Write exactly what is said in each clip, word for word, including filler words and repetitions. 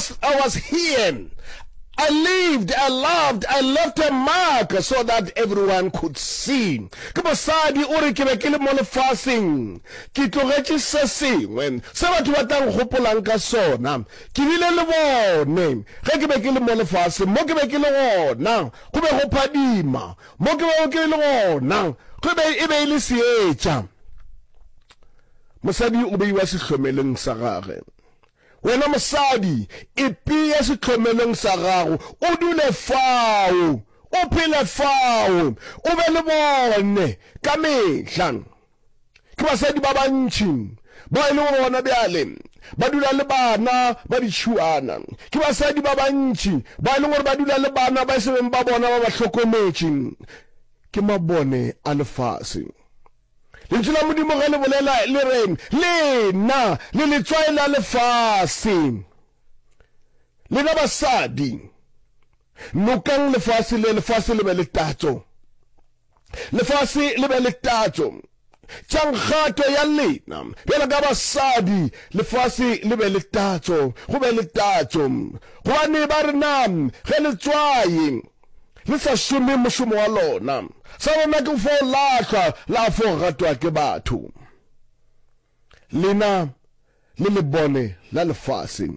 was, I was here. I lived, I loved, I left a mark so that everyone could see. Ke mosadi o re ke be ke le mo lefaseng, ke tlogetše se sengwe se batho ba tla nkgopolang ka sona. Ke bile le bone ge ke be ke le mo lefaseng, mo ke be ke le gona go be go phadima, mo ke bego ke le gona go be e be e le seetša. Mosadi o beiwa sehlomelong sa gage. Wena mosadi, ipee sehlomelong sa gago, o dule fao, o phele fao, o be le bone ka mehla. Ke basadi ba bantši bao e lego gore gona bjale ba dula le bana ba ditšhuana. Ke basadi ba bantši ba e leng gore ba dula le bana ba e se beng ba bona ba ba hlokometše. Ke mabone a lefase. Lentšu la Modimo ge le bolela le re, Lena le letswai la lefase. Lena basadi, nokang lefase le, lefase le be le tatso. Lefase le be le tatso. Tšang kgato ya lena bjalo ka basadi, lefase le be le tatso, go be le tatso. Gobane ba re na ge letswai le sa šome mošomo wa lona, sa lona ke fo lahlwa la fo gatwa ke batho. Lena le lebone la lefase,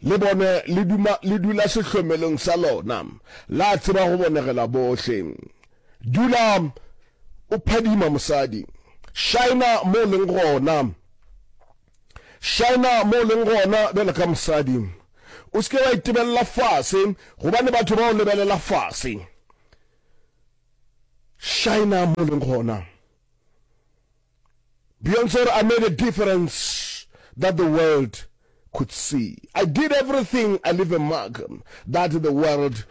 le bone le duma le dula sehlomelong sa lona, la tseba go bonegela bohle. Dula o phadima mosadi, šaena mo o leng gona, šaena mo o leng gona bjalo ka mosadi. O se ke wa itebelela fase, gobane batho ba o lebelela fase. Šaena mo o leng gona. Beyonce I made a difference that the world could see. I did everything, I leave a mark that the world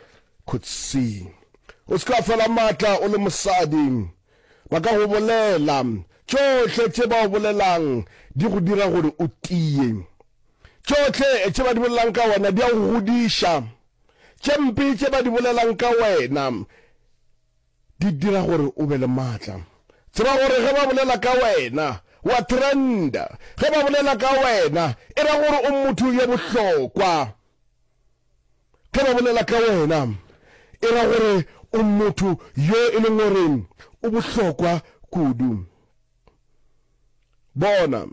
could see. O se ke wa fela maatla o le mosadi. Ba ka go bolela. Tšohle tše ba o bolelang di go dira gore o tie. Tšohle tše ba di bolelang ka wena di a go godiša. Tše mpe tše ba di bolelang ka wena di dira gore o be le maatla. Tseba gore ge ba bolela ka wena wa trenda. Ge ba bolela ka wena e ra gore o motho yo bohlokwa. Ge ba bolela ka wena e ra gore o motho yo e leng gore o bohlokwa kudu. Bona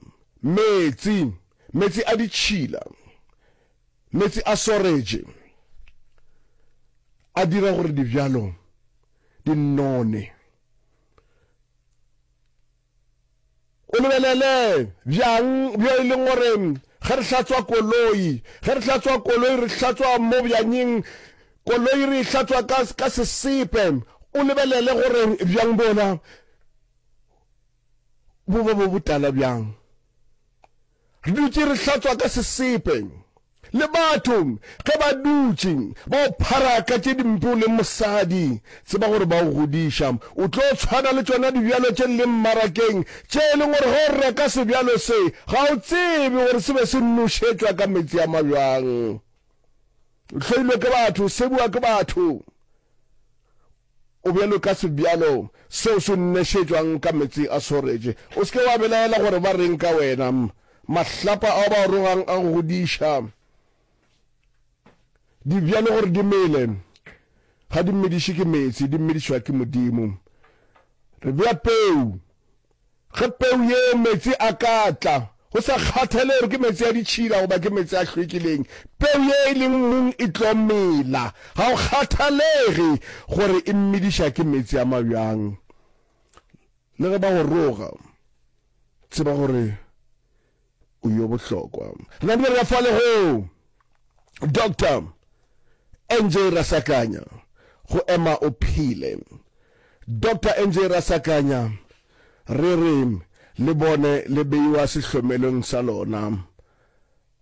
meetse, meetse a ditšhila, meetse a soretše a dira gore dibjalo di none. O lebelele bjang bjo e leng gore ge re hlatswa koloi, ge re hlatswa koloi re hlatswa mo bjanyeng, koloi re e hlatswa ka, ka sesepe. O lebelele gore bjang bona bo ba bo botala bjang. Re dutše re hlatswa ka sesepe. Le batho ge ba dutše ba o phara ka tše dimpe o leng mosadi, tseba gore ba o godiša. O tlo tshwana le tšona dibjalo tše di leng mmarakeng, tše e leng gore ge o reka sebjalo se ga o tsebe gore se be se nošetšwa ka meetse a mabjang. O hloilwe ke batho, o sebiwa ke batho. O bjalo ka sebjalo seo se nošetšwang ka meetse a soretše. O se ke wa belaela gore ba reng ka wena. Mahlapa ao ba o rogang a go godiša. Dibjalo gore di mele, ga di mediše ke meetse, di medišwa ke Modimo. Re bea peu. Ge peu yeo meetse a ka tla, go sa kgathale gore ke meetse a ditšhila goba ke meetse a hlwekileng, peu ye e leng mmung e tlo mela. Ga go kgathalege gore e mediša ke meetse a mabjang. Le ge ba go roga, tseba gore o yo bohlokwa. Re namile re ya fale go Doctor N J Rasakanya, go ema o phele. Doctor N J Rasakanya, re re le bone le beiwa sehlomelong sa lona,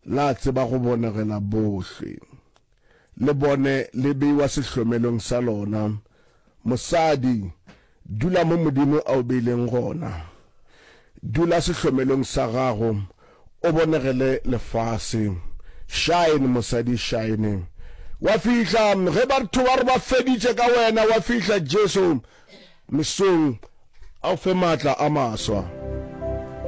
la tseba go bonegela bohle. Le bone le beiwa sehlomelong sa lona. Mosadi, dula mo Modimo a o beileng gona. Dula sehlomelong sa gago, o bonegele lefase. Shine mosadi, shine. Wa fihla ge batho ba re ba feditše ka wena, wa fihla Jesu mesong a o fe maatla a maswa.